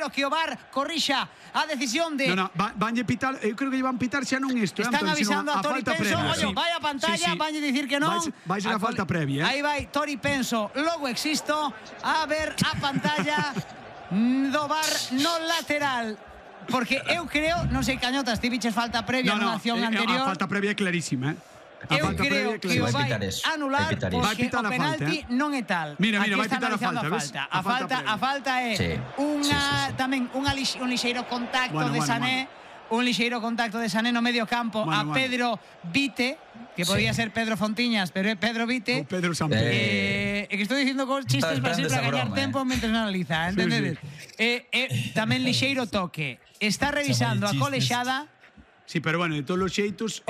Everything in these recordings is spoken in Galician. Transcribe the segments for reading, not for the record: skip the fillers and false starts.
espero que o VAR corrixa a decisión de... vanlle pitar, eu creo que van pitar xa non isto. Están avisando a Tori Penso, previa, vai a pantalla, vanlle dicir que non. Vai ser a falta previa. Aí vai Tori Penso, logo existo, a ver a pantalla do VAR no lateral. Porque eu creo, non sei, Cañotas, ti viches falta previa na acción anterior. A falta previa é clarísima, Eu creo que o vai anular porque o penalti non é tal. Mira, vai pitar a falta, ves? A falta é tamén un lixeiro contacto de Sané, un lixeiro contacto de Sané no medio campo a Pedro Vite, que podía ser Pedro Fontiñas, pero é Pedro Vite. Pedro Samper. Que estou dicindo con chistes para gañar tempo mentre analiza, entendedes? Tamén lixeiro toque. Está revisando a colexada. Sí, pero bueno, de todos os xeitos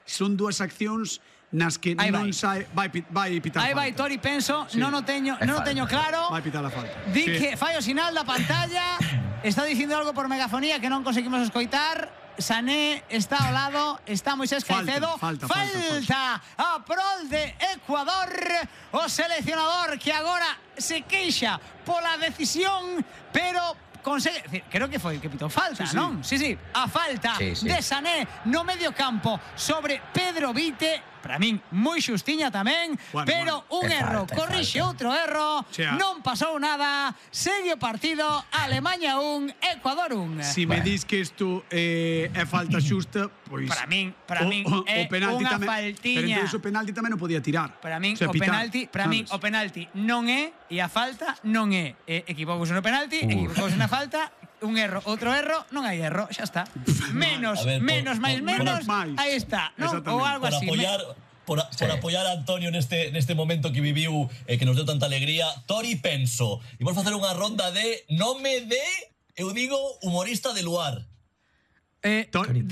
son dúas accións nas que non sai, vai pitar. Aí vai Tori Penso, non o teño claro. Vai pitar a falta. Di que fai o sinal da pantalla, está dicindo algo por megafonía que non conseguimos escoitar. Sané está ao lado, está Moisés Caicedo. Falta a prol de Ecuador. O seleccionador que agora se queixa pola decisión, pero consegue, creo que foi que pitou falta, non? Sí, a falta de Sané no medio campo sobre Pedro Vite, para min moi xustiña tamén, pero un erro corrixe outro erro, non pasou nada, segue o partido, Alemaña 1, Ecuador 1. Si me dis que isto é falta xusta, pois para min é unha faltiña. Pero entón o penalti tamén non podía tirar. Para min o penalti non é e a falta non é. Equivocouse no penalti, equivocouse na falta, un erro, outro erro, non hai erro, xa está. Menos, máis menos, aí está, non? Ou algo así. Por apoiar a Antonio neste momento que viviu que nos deu tanta alegría, Tori Penso. Imos facer unha ronda de nome de, eu digo, humorista de Luar. Tori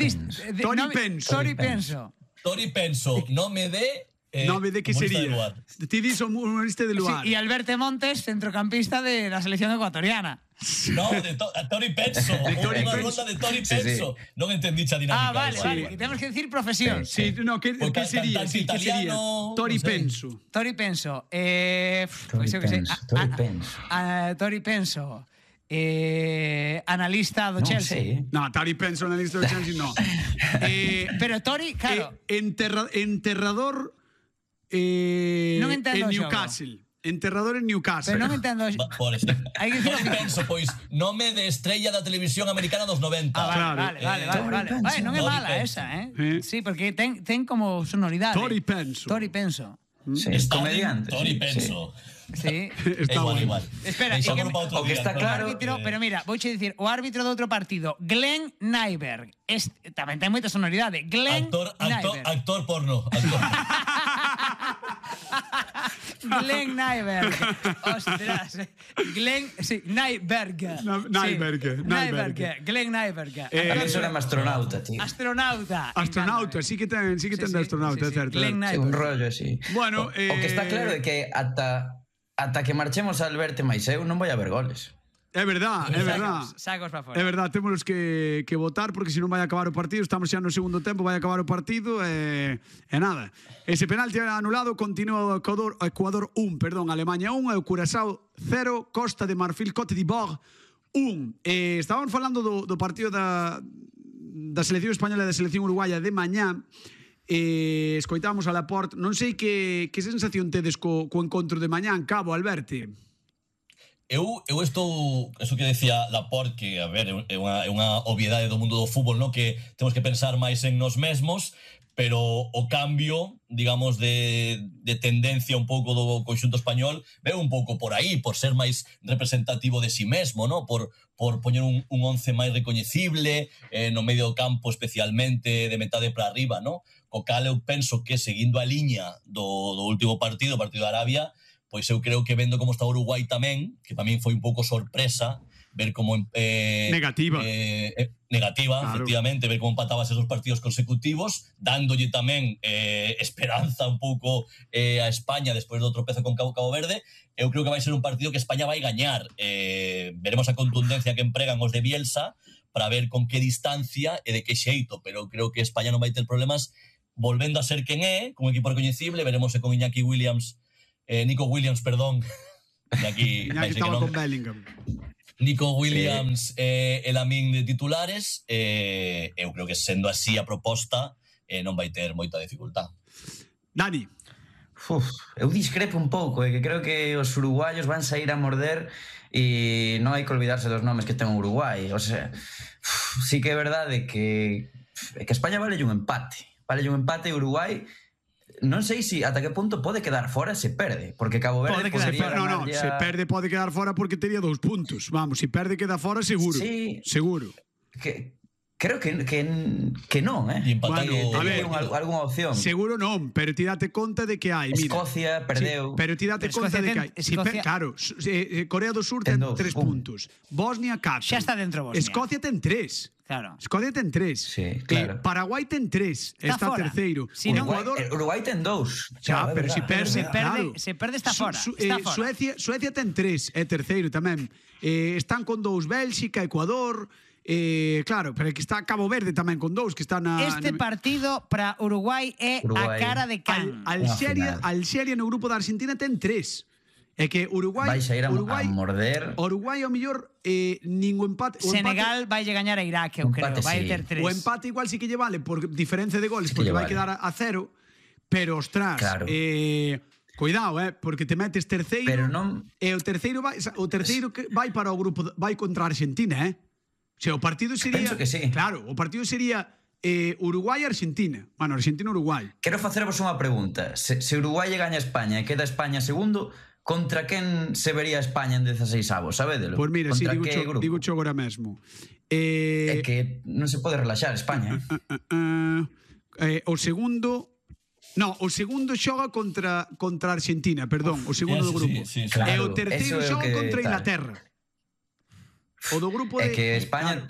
Penso, nome de... nome de que sería? Ti dis humorista de Luar. E Alberto Montes, centrocampista de la selección ecuatoriana. No, de Tori Penso. Unha ronda de Tori Penso. Non entendí a dinámica. Vale. Temos que decir profesión. Sí, no, que sería? Tori Penso. Tori Penso. Tori Penso. Analista do Chelsea. No, Tori Penso, analista do Chelsea, no. Pero Tori, claro. Enterrador en Newcastle. Enterrador en Newcastle. Pero non entendo. Por eso. Tori Penso, pois, nome de estrella da televisión americana dos 90. Vale. Non é mala esa, Sí, porque ten como sonoridade. Tori Penso. Es comediante. Tori Penso. Sí. Está igual. Espera, o que está claro... Pero mira, vouche dicir, o árbitro do outro partido, Glenn Nyberg, tamén ten moita sonoridade. Glenn Nyberg. Actor porno. Glenn Nyberg. Ostras. Nyberg. Glenn Nyberg. A mí suena astronauta, tío. Astronauta, sí que ten de astronauta, é certo. Un rollo así. Bueno, o que está claro é que ata que marchemos a Alberto máis eu non vai haber goles. É verdad. Sacos para fora. É verdad, temos que votar porque senón vai acabar o partido. Estamos xa no segundo tempo, vai acabar o partido e nada. Ese penalti anulado, continúa o Ecuador 1, Alemania 1, o Curazao 0, Costa de Marfil, Cote d'Ivoire 1. Estábamos falando do partido da selección española e da selección uruguaya de mañá. Escoitamos a Laporte. Non sei que sensación tedes co encontro de mañá en Cabo, Alberto. Eu estou, eso que decía Laporte, que, a ver, é unha obviedade do mundo do fútbol, no? Que temos que pensar máis en nos mesmos, pero o cambio, digamos, de tendencia un pouco do conxunto español veo un pouco por aí, por ser máis representativo de si mesmo, no? Por poñer un once máis recoñecible, no medio campo especialmente, de metade para arriba, no? Co cal eu penso que, seguindo a liña do último partido, o partido de Arabia, pois eu creo que vendo como está Uruguai tamén, que para min foi un pouco sorpresa, ver como... negativa, claro. Efectivamente, ver como empataba esos partidos consecutivos, dándolle tamén esperanza un pouco a España despois do tropezo con Cabo Verde. Eu creo que vai ser un partido que España vai gañar. Veremos a contundencia que empregan os de Bielsa para ver con que distancia e de que xeito, pero creo que España non vai ter problemas volvendo a ser quen é, con un equipo recoñecible. Veremos con Nico Williams, perdón. Iñaki estaba con Bellingham. Nico Williams e Lamine de titulares, eu creo que sendo así a proposta non vai ter moita dificultad. Dani. Eu discrepo un pouco, que creo que os uruguayos van sair a morder e non hai que olvidarse dos nomes que ten Uruguai. O sea, sí que é verdade que España vale un empate. Vale un empate e Uruguai non sei se ata que punto pode quedar fora se perde, porque Cabo Verde podría ganar ya... Se perde pode quedar fora porque tería 2 puntos. Vamos, se perde queda fora seguro. Sí. Seguro. Creo que non, Bueno, a ver, algunha opción. Seguro non, pero ti date conta de que hai, mira. Escocia perdeu. Sí, pero ti date conta de que hai. Claro, Corea do Sur ten 3 puntos. Bosnia 4. Xa está dentro Bosnia. Escocia ten 3. Claro. Escocia ten 3. Sí, claro. Paraguai ten 3. Está terceiro. Si Uruguai ten 2. Xa, pero se perde, claro. Se perde está fora. Suecia ten 3, é terceiro tamén. Están con 2 Bélxica, Ecuador... claro, pero que está Cabo Verde tamén con 2 que está na... Este partido para Uruguai é a cara de can. Alxeria no grupo da Argentina ten 3. É que Uruguai vai sair a morder. Uruguai ao mellor ningún empate. Senegal vai gañar a Irak, eu creo, vai ter 3. O empate igual sí que lle vale por diferencia de goles, porque vai quedar a 0, pero ostras, claro. Cuidado, porque te metes terceiro, pero non... e o terceiro vai para o grupo, vai contra a Argentina, O sea, o partido sería... Penso que sí. Claro, o partido sería Uruguai-Argentina. Bueno, Argentina-Uruguai. Quero facervos unha pregunta. Se Uruguai gaña a España e queda España segundo, contra quen se vería España en 16avos, sabédelo? Pois mira, sí, digo cho agora mesmo. É que non se pode relaxar España. O segundo... No, o segundo xoga contra Argentina, perdón, o segundo do grupo. Sí, claro, e o terceiro xoga contra Inglaterra. O do grupo de... É que España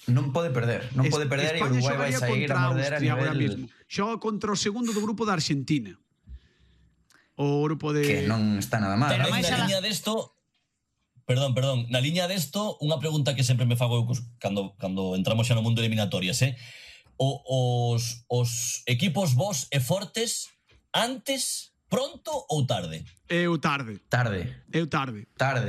non pode perder. Non pode perder e Uruguai vai sair a morder a nivel... Xoga contra o segundo do grupo da Argentina. O grupo de... Que non está nada mal. Pero na liña desto... Perdón. Na liña desto, unha pregunta que sempre me fago cando entramos xa no mundo de eliminatorias, Os equipos vos e fortes antes... Pronto ou tarde? Eu tarde. Tarde,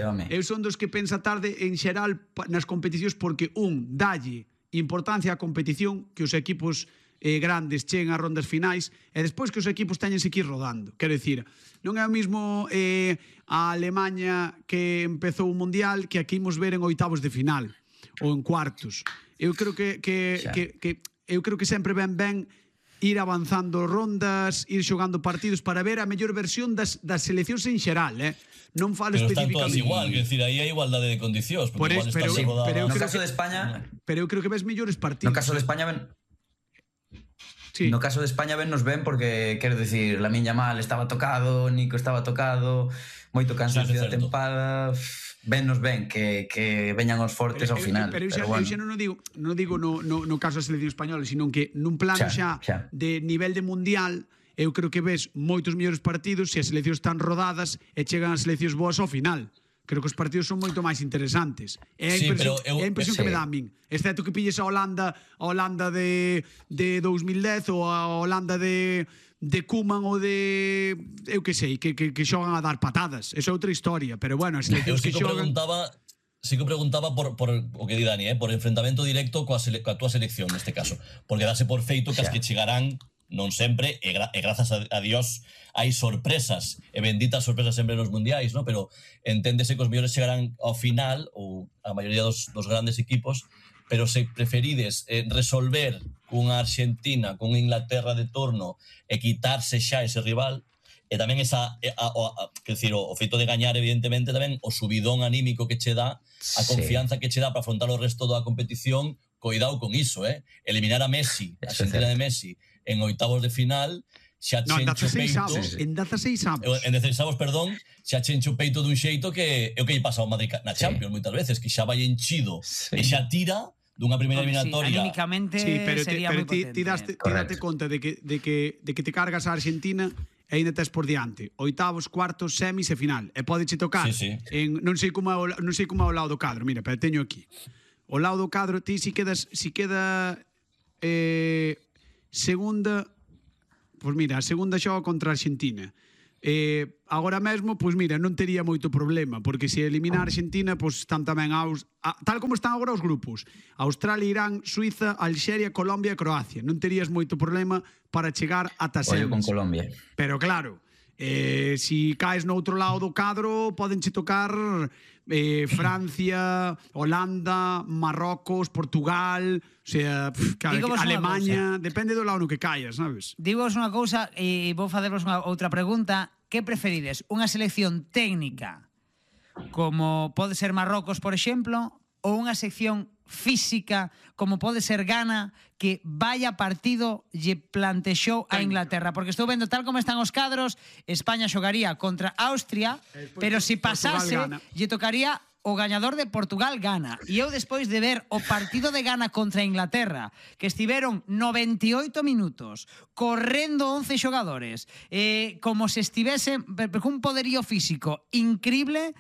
home. Eu son dos que pensa tarde en xeral nas competicións porque dalle importancia á competición que os equipos grandes cheguen a rondas finais e despois que os equipos teñense que ir rodando. Quero dicir, non é o mismo a Alemanha que empezou o Mundial que aquí imos ver en oitavos de final ou en cuartos. Eu creo que eu creo que sempre ben ir avanzando rondas, ir xogando partidos para ver a mellor versión das seleccións en xeral, Non falo especificamente. Pero están todas igual, quer dicir, aí hai igualdade de condicións, porque igual están rodadas. No caso de España... Pero eu creo que ves mellores partidos. No caso de España ven... Sí. No caso de España nos ven porque, quero dicir, Lamine Yamal estaba tocado, Nico estaba tocado, moito cansancio da tempada... Nos ven que veñan os fortes ao final. Pero eu xa non digo no caso da selección española, sino que nun plano xa de nivel de mundial, eu creo que ves moitos mellores partidos se as seleccións están rodadas e chegan as seleccións boas ao final. Creo que os partidos son moito máis interesantes. É a impresión que me dá a min. Excepto que pilles a Holanda de 2010 ou a Holanda de Koeman ou de... Eu que sei, que xogan a dar patadas. Esa é outra historia, pero bueno, as seleccións que xogan... Sí que preguntaba por o que di Dani, por enfrentamento directo coa túa selección neste caso, porque dase por feito que as que chegarán non sempre, e grazas a Dios hai sorpresas, e benditas sorpresas sempre nos mundiais, ¿no? Pero enténdese que os mellores chegarán ao final, ou a maioría dos grandes equipos, pero se preferides resolver cunha Argentina, cunha Inglaterra de turno, e quitarse xa ese rival, e tamén o feito de gañar, evidentemente, tamén o subidón anímico que che dá, a confianza que che dá para afrontar o resto da competición, coidado con iso, eliminar a Messi, a Argentina de Messi, en oitavos de final, xa chencho peito... En 16 avos. En 16 avos, perdón, xa chencho peito dun xeito que é o que lle pasa ao Madrid na Champions moitas veces, que xa vai enchido e xa tira dunha primeira eliminatoria. Anímicamente sería moi potente. Ti date conta de que te cargas a Argentina e ainda tes por diante oitavos, cuartos, semis e final. E pódeche tocar non sei como é o lado do cadro. Mira, pero teño aquí. O lado do cadro, ti si queda segunda, pois mira, a segunda xoga contra a Argentina. Agora mesmo, pois mira, non tería moito problema, porque se eliminar a Argentina, pois están tamén tal como están agora os grupos: Australia, Irán, Suiza, Alxeria, Colombia e Croacia. Non terías moito problema para chegar ata semis. Ollo con Colombia. Pero claro, si caes no outro lado do cadro, podenche tocar Francia, Holanda, Marrocos, Portugal, o sea, claro, Alemania, depende do lado no que caes, sabes? Digos unha cousa e vou facervos outra pregunta. Que preferides? Unha selección técnica como pode ser Marrocos, por exemplo, ou unha sección física como pode ser Ghana, que vaya partido lle plantexou a Inglaterra? Porque estou vendo tal como están os cadros, España xogaría contra Austria, pero se pasase lle tocaría o gañador de Portugal-Ghana. E eu despois de ver o partido de Ghana contra Inglaterra, que estiveron 98 minutos correndo 11 xogadores, como se estivese con un poderío físico increíble,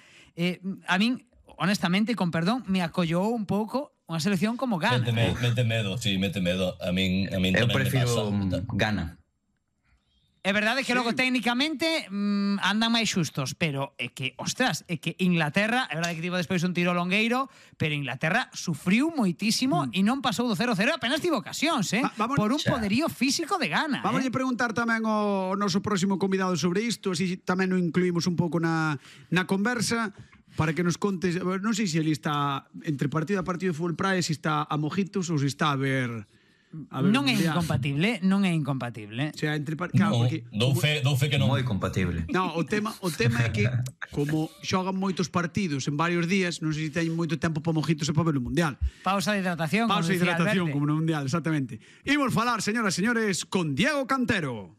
a min, honestamente, con perdón, me acollou un pouco unha selección como Ghana. Mete medo, sí, mete medo. A min eu prefiro Ghana. É verdade que logo técnicamente andan máis xustos, pero é que, ostras, é que Inglaterra, é verdade que tivo despois un tiro longueiro, pero Inglaterra sufriu moitísimo e non pasou do 0-0, apenas tivo ocasións, por un poderío físico de Ghana. Vamos a preguntar tamén ao noso próximo convidado sobre isto, así tamén o incluímos un pouco na conversa, para que nos contes, non sei se ele está entre partido a partido de fútbol praia, se está a mojitos ou se está a ver non é incompatible, non é incompatible. O sea, dou fe que non. Moi compatible. No, o tema é que como xogan moitos partidos en varios días, non sei se teñen moito tempo para mojitos e para ver o Mundial. Pausa de hidratación, como no Mundial, exactamente. Imos falar, señoras e señores, con Diego Cantero.